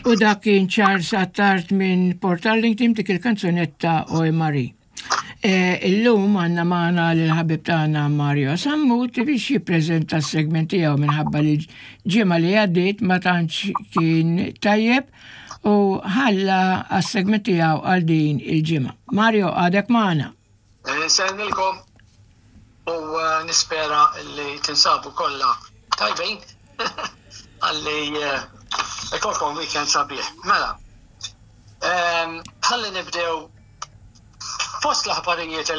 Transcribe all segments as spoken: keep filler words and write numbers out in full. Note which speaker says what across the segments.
Speaker 1: U dak kien Charles Attard minn Port Arlington dik il-kanzunetta Oj Marie. E, illum għandna magħna l-ħabib tagħna Mario Sammut biex jippreżenta s-segment tiegħu minħabba li ġimgħa li għaddiet ma tantx kien tajjeb u ħalla għas-segment tiegħu għal din il-ġimgħa. Mario, għadek magħna.
Speaker 2: Insellmilkom u eh, nispera li tinsabu kollha tajbin għalli eh, ikolkom weekend sabiħ. Mela, ehm, ħalli nibdew fost l-aħbarijiet,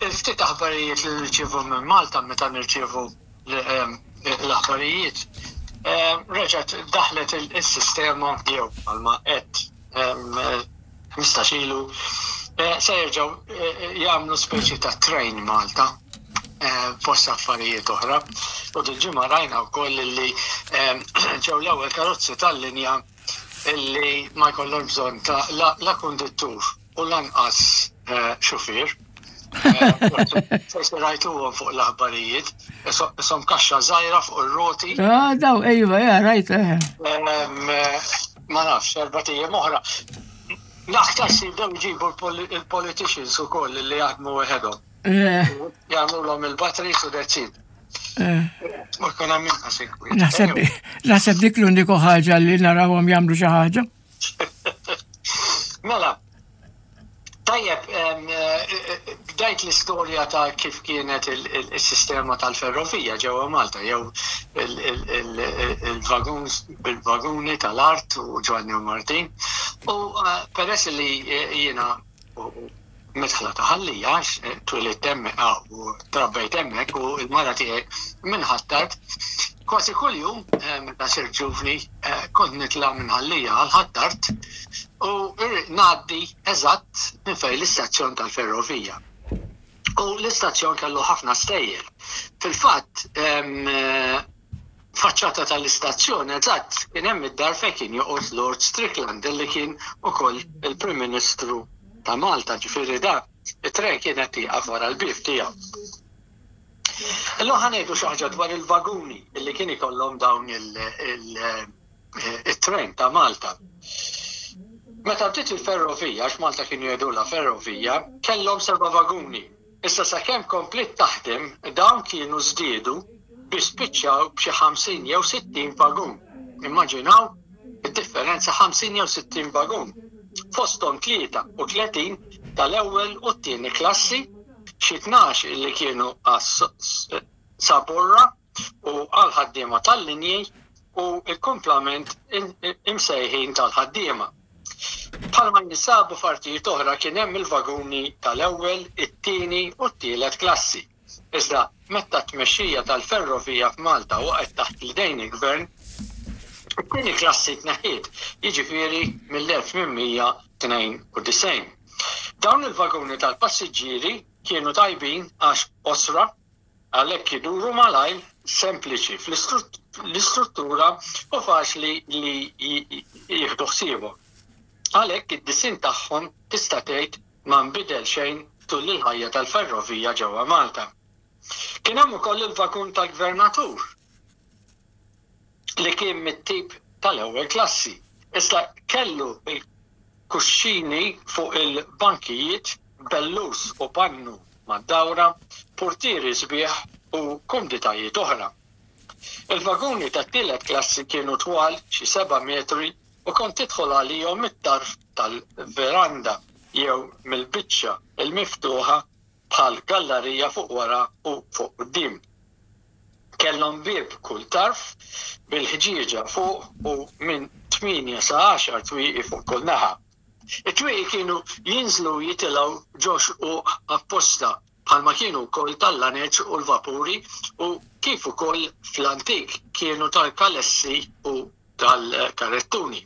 Speaker 2: il-ftit aħbarijiet li nirċievu minn Malta meta nirċievu ehm, l-aħbarijiet, ehm, reġgħet daħlet il-sistema jew għalma qed ħmistax ilu eh, se jerġgħu eh, jagħmlu speċi ta' train Malta eh, fost affarijiet oħra. U dil-ġimgħa rajna wkoll li ġew l-ewwel karozzi tal-linja illi ma jkollhom bżonn ta' la konduttur u lanqas xufier. Forsi rajtuhom fuq l-aħbarijiet, isom kaxxa żgħira fuq ir-roti.
Speaker 1: Ah, daw, ejwa, ja, rajt.
Speaker 2: Ma nafx, erbat ijiem oħra. L-aktar si jibdew jġibu il-politicians ukoll li jaħdmu weħedhom. Jagħmluhom il-batteries u that's it. Ma jkun hemm inqas inkwiet.
Speaker 1: Naħseb dik l-uniku ħaġa li narawhom jagħmlu xi ħaġa.
Speaker 2: Mela, tajjeb, bdajt l-istorja ta' kif kienet il-sistema tal-ferrovija ġewwa Malta, jew il-vaguni tal-art u Ġwanni u Martin. U eh, peress li jiena midħla ta' Ħal Lija, twelidt hemmhekk u trabbejt hemmhekk u l-mara tiegħi minn Ħ'Attard, kważi kuljum meta sirt ġuvni kont nitla' minn Ħal Lija għal Ħ'Attard u ngħaddi eżatt minn fejn l-istazzjon tal-ferrovija. U l-istazzjon kellu ħafna stejjer. Fil-fatt, faċċata tal-istazzjon eżatt kien hemm id-dar fejn kien joqgħod Lord Strickland li kien ukoll il-Prim Ministru ta' Malta, ġifieri da it-tren kienet tieqaf wara l-bieb tiegħu. Illum ħa ngħidu xi ħaġa dwar il-vaguni li kien ikollhom dawn il-tren ta' Malta. Meta bdiet il-ferrovija, għax Malta kienu jgħidulha ferrovija, kellhom seba' vaguni. Issa sakemm kompliet taħdem, dawn kienu żdiedu biex spiċċaw b'xi ħamsin jew sittin vagun. Immaġinaw id-differenza, ħamsin jew sittin vagun. Fosthom tlieta u tletin tal-ewwel u t-tieni klassi, xi tnax illi kienu għas-saborra u għal-ħaddiema tal-linji u l-kumplament imsejħin tal-ħaddiema. Bħalma jinsabu f'artijiet oħra kien hemm il-vaguni tal-ewwel, it-tieni u t-tielet klassi. Iżda meta t-tmexxija tal-ferrovija f'Malta waqgħet taħt l-idejn il-gvern, it-tieni klassi tneħħiet, jiġifieri mill-elf tmien mija tnejn u disgħin. Dawn il-vaguni tal-passiġġieri kienu tajbin għax qosra, għalhekk iduru malajr, sempliċi fl-istruttura u faċli li jieħdu ħsiebhom. Għalhekk id-disinn tagħhom tista' tgħid ma nbidel xejn tul il-ħajja tal-ferrovija ġewwa Malta. Kien hemm ukoll il-vagun tal-gvernatur li kien mit-tip tal-ewwel klassi. Issa kellu il-kuxxini fuq il-bankijiet, bellus u pannu mad-dawra, purtieri sbieħ u kumditajiet oħra. Il-vaguni tat-tielet klassi kienu twal xi seba' metri u kont tidħol għalihom mit-tarf tal-veranda jew mill-biċċa l-miftuħa bħal gallarija fuq wara u fuq quddiem. Kellhom bieb kull tarf bil-ħġieġa fuq u minn tmienja sa għaxar twieqi fuq kull naħa. It-twieqi kienu jinżlu u jitilgħu ġo xquq apposta bħalma kienu wkoll tal-laneċ u l-vapuri u kif ukoll fl-antik kienu tal-kalessi u tal-karettuni.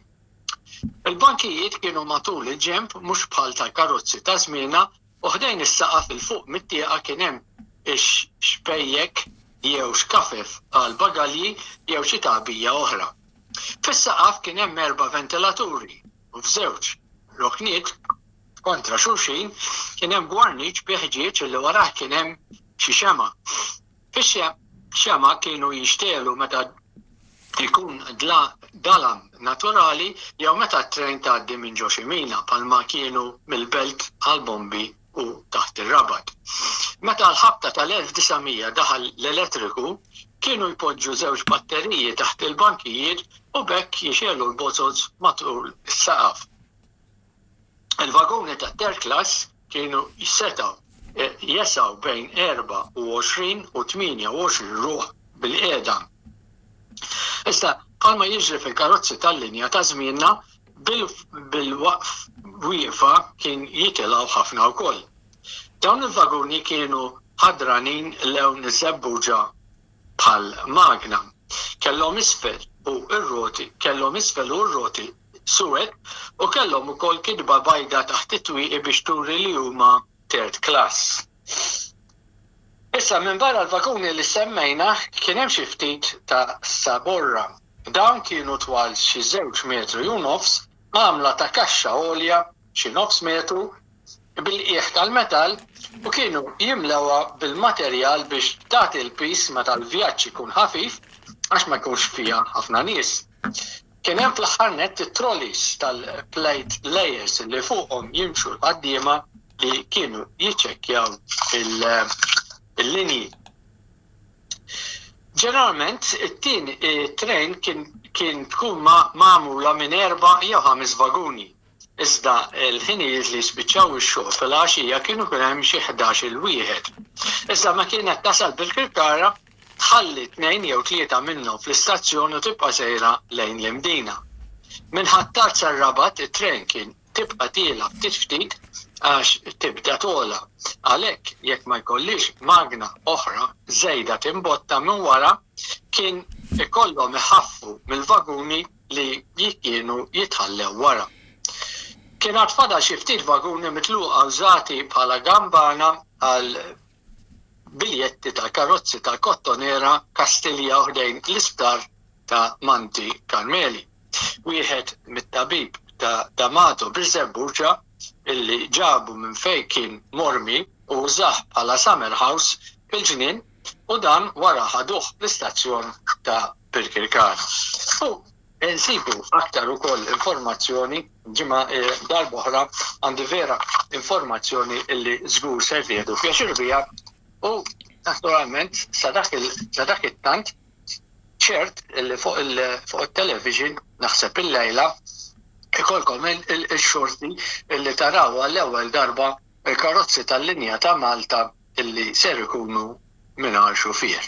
Speaker 2: Il-bankijiet kienu matul il-ġenb mhux bħal tal-karozzi ta' żmienna u ħdejn is-saqaf 'il fuq mit-tieqa kien hemm ix-xbejjek jew xkafef għal bagalji jew xi tagħbija oħra. Fis-saqaf kien hemm erba' ventilaturi u f'żewġ rokniet kontra xulxin kien hemm gwarniċ bi ħġieġ li warah kien hemm xi xemgħa. Fix-xemgħa kienu jinxtegħlu meta Ikun dalam naturali jew meta t-trejn tgħaddi minn ġo xi mina bħalma kienu mill-Belt għall-Bombi u taħt ir-Rabat. Meta l-ħabta tal-elf disa' mija daħal l-elettriku, kienu jpoġġu żewġ batteriji taħt il-bankijiet u b'hekk jixegħlu l-bozoz matul is-saqaf. Il-vaguni tat-third class kienu setgħu jesgħu bejn erbgħa u għoxrin u tmienja u għoxrin ruħ bil-qiegħda. Issa, bħalma jiġri fil-karozzi tal-linja ta' żmienna, bil-waqf wieqfa kien jitilgħu ħafna wkoll. Dawn il-vaguni kienu ħadranin lewn iż-żebbuġa bħal magna. Kellhom isfel u r-roti, kellhom isfel u r-roti suwed u kellhom ukoll kitba bajda taħt it-twieqi biex turi li huma third class. Issa, minbarra l-vaguni li semmejna, kien hemm xi ftit ta' saborra. Dawn kienu twal xi żewġ metri u nofs, għamla ta' kaxxa għolja xi nofs metru, bil-qiegħ tal-metall u kienu jimlewha bil-materjal biex tagħti l-piż meta l-vjaġġ ikun ħafif għax ma jkunx fiha ħafna nies. Kien hemm fl-aħħar nett it-trolleys tal-plate layers li fuqhom jimxu l-ħaddiema li kienu jiċċekkjaw il-linji. Ġeneralment, it-tieni train kien, kien tkun magħmula minn erba' jew ħames vaguni. Iżda l-ħinijiet li jispiċċaw ix-xogħol fil-għaxija kienu kien hemm xi ħdax-il wieħed. Iżda ma kienet tasal bil-Kirkara, tħalli tnejn jew tlieta minnhom fl-istazzjon u tibqa' sejra lejn l-Imdina. Minn Ħ'Attard sar-Rabat it-train kien tibqa' tiela' ftit ftit għax tibda togħla. Għalhekk jekk ma jkollhiex magna oħra żejda timbotta minn wara, kien ikollhom iħaffu mill-vaguni li kienu jitħallew wara. Kien għad fadal xi ftit vaguni mitluqa użati bħala gambana għal biljetti tal-karozzi tal-Kottonera Kastilja u ħdejn l-isptar ta' Monte Carmeli. Wieħed mit-tabib ta' D'Amato Birżebbuġa illi ġabu minn fejn kien mormi u użah bħala summer house fil-ġnien u dan wara ħaduh l-istazzjon ta' Birkirkara. U nsibu aktar ukoll informazzjoni ġimgħa darb'oħra għandi vera informazzjoni illi żgur se tieħdu pjaċir biha u naturalment sa dak it-tant ċert illi fuq il-television naħseb il-lejla ikolkom il-xorti illi taraw għall-ewwel darba il-karozzi tal-linja ta' Malta illi ser ikunu mingħajr xufier.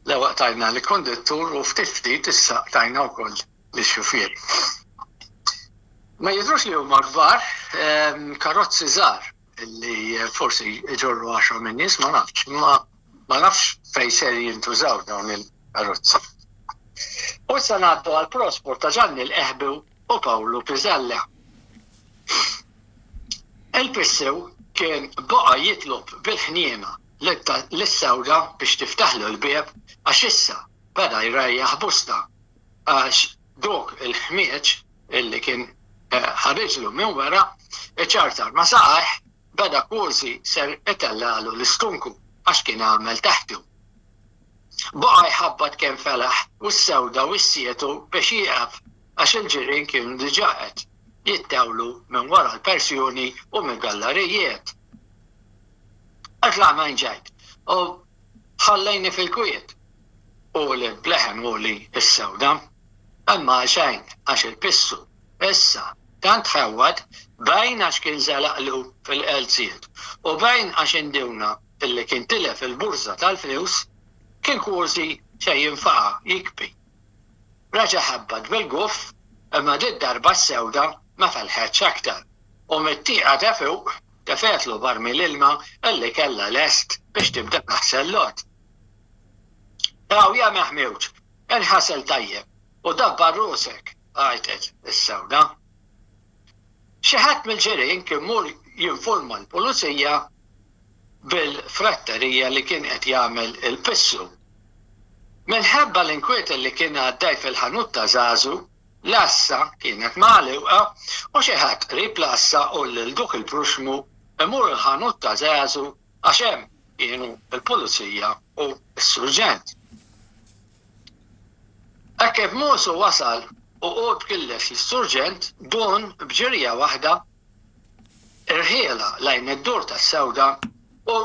Speaker 2: L-ewwel tajna l-konduttur u ftit ftit issa tajna wkoll lix-xufier. Ma jidhrux li huma kbar, karozzi żgħar illi forsi jġorru għaxra minn nies, ma nafx, ma ma nafx fejn ser jintużaw dawn il-karozzi. U issa ngħaddu għal prosport ta' Ġanni l-Eħbew u Pawlu Piżella. Il-Pissew kien baqa' jitlob bil-ħniena lis-sewda biex tiftaħlu l-bieb għax issa beda jrejjaħ busta għax dok il-ħmieġ illi kien ħariġlu minn wara iċartar ma saqajh beda kważi ser itellalu l-istunku għax kien għamel taħtu. Baqa' jħabbat kemm felaħ u s-sewda u s-sietu biex jieqaf għax il-ġirien kienu diġà qed jittawlu minn wara l-persjoni u mill-gallerijiet. Itlaq minn ġejt u ħallejni fil-kwiet u li bleħen u li s-sewda. Imma xejn għax il-pissu issa tant ħewwad bejn għax kien żelaqlu fil-qelziet u bejn għax indewna illi kien tilef il-burża tal-flus kien kważi se jinfaqa' jikbi. Reġa' ħabbat bil-guff imma dit darba s-sewda ma felħetx aktar u mit-tieqa ta' fuq tefgħetlu barmil ilma illi kellha lest biex tibda taħsel l-għot. Aw ja meħmewġ, inħasel tajjeb u dabbar rusek, għajtet is-sewda. Xi ħadd mill-ġirien kien mur jinforma l-pulizija bil-fratterija li kien qed jagħmel il-pissu. Minħabba l-inkwiet li kien għaddej fil-ħanut ta' Żagħżu, l-għassa kienet magħluqa u xi ħadd qrib l-għassa u lil duk il-pruxmu imur il-ħanut ta' Żagħżu għax hemm kienu l-pulizija u s-surġent. Hekk kif Musu wasal u qurb killex lis-surġent, Dun b'ġirja waħda irħielha lejn id-dur tas-sewda u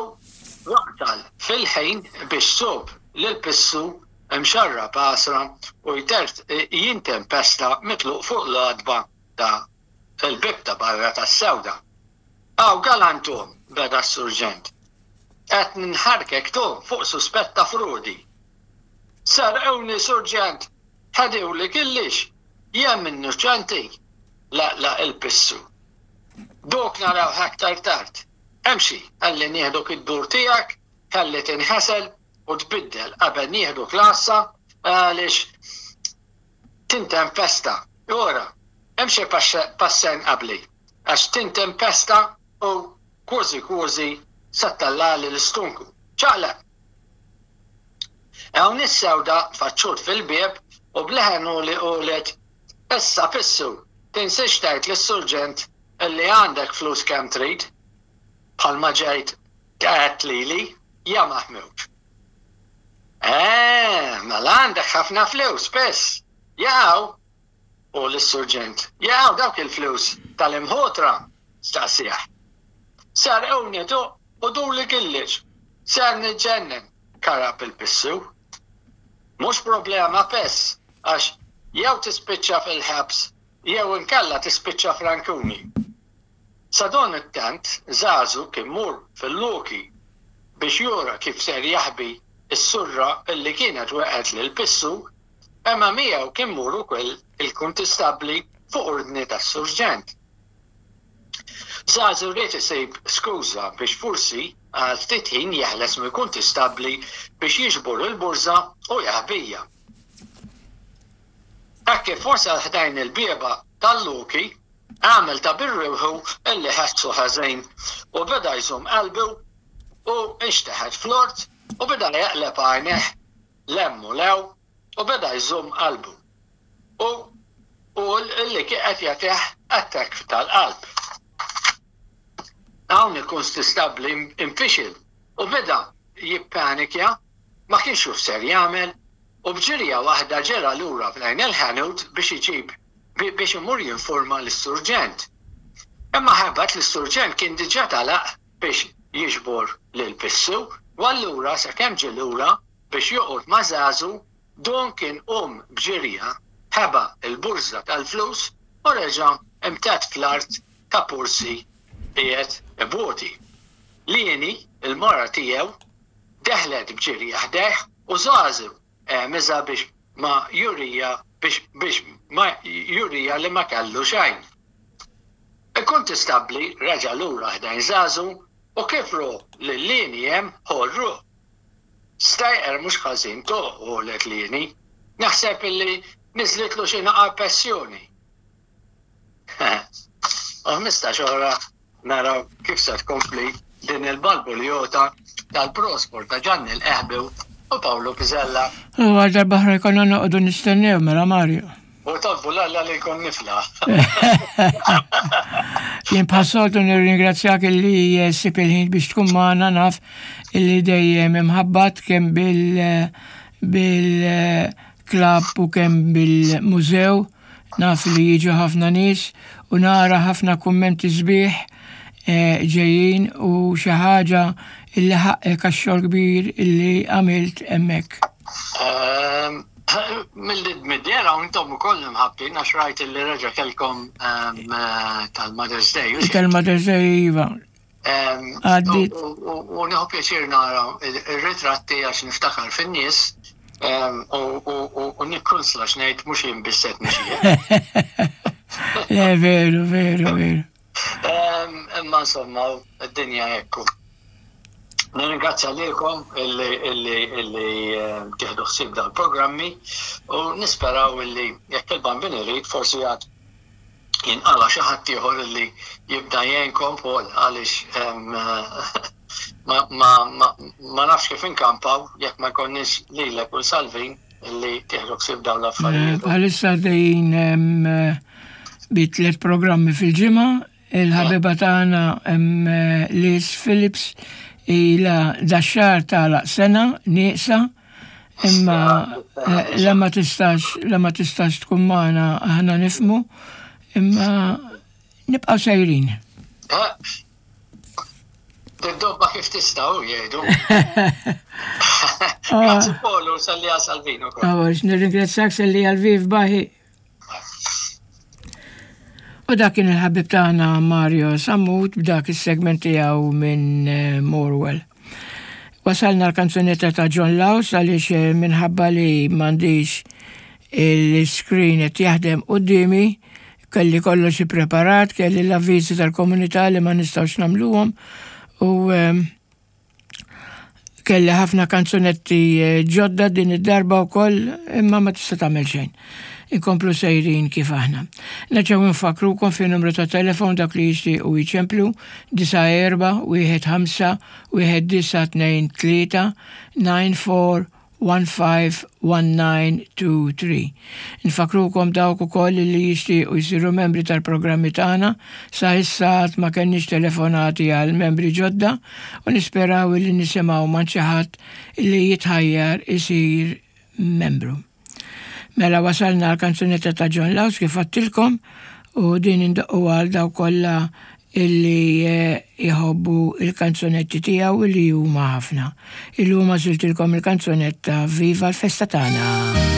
Speaker 2: waqtal fil-ħin biex sub lil Pissu mxarrab għasra u jintempesta mitluq fuq l-għatba ta' l-bieb ta' barra tas-sewda. Aw galantum, beda s-surġent. Qed nħarkek tu fuq suspett ta' frodi. Serqewni, surġent, ħadewli killix, jien innoċenti, laqlaq il-Pissu. Dok narawh aktar tard. Emxi, ħalli nieħduk id-dur tiegħek, ħalli tinħasel u tbiddel qabel nieħduk l-għassa għaliex tintempesta. Ora, emxi passejn qabli, għax tintempesta u kważi kważi se ttellagħli l-istonku. Ċaqlaq! Hawn is-sewda tfaċċut fil-bieb u b'leħen għoli qalet, Issa Pissu, tinsiex tgħid lis-surġent illi għandek flus kemm trid, bħalma ġejt għedt lili, ja Maħmud. Eh, mela għandek ħafna flus, Piss. Jaqaw? U lis-surġent, Jaqaw dawk il-flus tal-imħutra? staqsieh. Sarquni tu u duli killix. Ser niġġennen, karab il-Pissu. Mhux problema Piss, għax jew tispiċċa fil-ħabs jew inkella tispiċċa frankuni. Sadanittant Żagħżu kien mur fil-loki biex jura kif ser jaħbi s-surra illi kienet weqgħet lil Pissu, imma miegħu kien mur ukoll il-kuntistabbli fuq ordni tas-surġent. Żagħżu ried isib skuża biex forsi għal ftit ħin jeħles mill-kuntistabbli biex jiġbor il-burża u jaħbija. Hekk kif wasal ħdejn il-bieba tal-loki, għamel ta' bir-ruħu illi ħassu ħażin u beda jżomm qalbu u nxteħet fl-ort u beda jaqleb għajnejh 'l hemm u 'l hawn u beda jżomm qalbu u u illi kien qed jagħtih attakk tal-qalb. Hawn il-kunstistabbli infixil u beda jippanikja, ma kienx jaf x'ser jagħmel u b'ġirja waħda ġera lura lejn il-ħanut biex iġib biex imur jinforma lis-surġent. Imma ħabat li s-surġent kien diġà telaq biex jiġbor lil Pissu u allura sakemm ġie lura biex joqgħod ma' Żagħżu, Don kien qum b'ġirja, ħeba l-burża tal-flus u reġa' imtedd fl-art ta' Pursi qiegħed iboti. Lieni, il-mara tiegħu, deħlet b'ġirja ħdejh u Żagħżu għemiżha biex ma jurija biex biex ma jurija li ma kellu xejn. Il-kuntistabbli reġa' lura ħdejn Żagħżu u kif ru lil Lieni hemm ħol ruħ. Stajqer mhux ħażin to, qalet Lieni. Naħseb illi niżlitlu xi naqa' pressjoni. U ħmistax oħra naraw kif se tkompli din il-balbuljota tal-prospor ta' Ġanni l-Qehbew u Pawlu Piżella.
Speaker 1: U għal darba oħra jkollna noqogħdu nistennew mela Mario.
Speaker 2: U tolbu l-Alla li jkun niflaħ.
Speaker 1: Jien bħas-soltu nirringrazzjak illi ssib il-ħin biex tkun magħna, naf illi dejjem imħabbat kemm bil bil-klabb u kemm bil-mużew, naf li jiġu ħafna nies u nara ħafna kummenti sbieħ eh, ġejjin u xi ħaġa illi ħaqqek għax-xogħol kbir illi għamilt hemmhekk.
Speaker 2: Ehm, Mill-mid-dera u intom ukoll imħabbtin għax rajt illi reġa' kellkom ehm, eh, tal-Mother's Day. U
Speaker 1: Tal-Mother's Day iva.
Speaker 2: Ehm,
Speaker 1: Għaddit.
Speaker 2: U nieħu pjaċir nara ir-ritratti għax niftakar fin-nies u nikkunsla x'ngħid mhux jien biss qed nixjieħ.
Speaker 1: Le, veru, veru, veru.
Speaker 2: Imma insomma, id-dinja hekk. Nirringrazzja lilkom illi illi illi tieħdu ħsieb dal-programmi u nisperaw illi jekk il-Bambin irid forsi għad jinqala xi ħadd ieħor illi jibda jgħinkom Paul għaliex ma, ma, ma, ma nafx kif inkampaw jekk ma jkollniex lilek u Salvin illi tieħdu ħsieb dawn l-affarijiet.
Speaker 1: Bħalissa għaddejjin bi tliet programmi fil-ġimgħa, il-ħabiba tagħna Liz Phillips ilha dax-xahar tagħlaq sena nieqsa. Imma eh, la ma tistax, la ma tistax tkun magħna, aħna nifhmu, imma nibqgħu sejrin.
Speaker 2: Did-dobba kif tistgħu jgħidu. Grazzi Polu, salli għal Salvino.
Speaker 1: Għax, nirringrazzjak, salli għal Viv Baħi. U dak kien il-ħabib tagħna Mario Sammut b'dak is-segment tiegħu minn eh, Morwell. Wasalna l-kanzunetta ta' John Laus għaliex eh, minħabba li m'għandix il-screen qed jaħdem quddiemi, kelli kollox ippreparat, kelli l-avviżi tal-komunità li ma nistgħux nagħmluhom u ehm, kelli ħafna kanzunetti eh, ġodda din id-darba wkoll, imma ma tista' tagħmel xejn. Inkomplu sejrin kif aħna. Nerġgħu nfakkrukom fi numru ta' telefon dak li jixtiequ jiċemplu: disa' erba' wieħed ħamsa wieħed disa' tnejn tlieta, nine four one five one nine two three. Nfakkrukom dawk ukoll li jixtiequ jsiru membri tal-programmi tagħna. Sa issa għad ma kenniex telefonati għal membri ġodda u nisperaw li nisimgħu ma' xi ħadd li jitħajjar isir membru. Mela wasalna l-kanzunetta ta' John Laus kif għedtilkom u din indoqqu għal dawk kollha illi eh, jħobbu il-kanzunetti tiegħu li huma ħafna. Illum għażiltilkom il-kanzunetta Viva l-Festa Tagħna.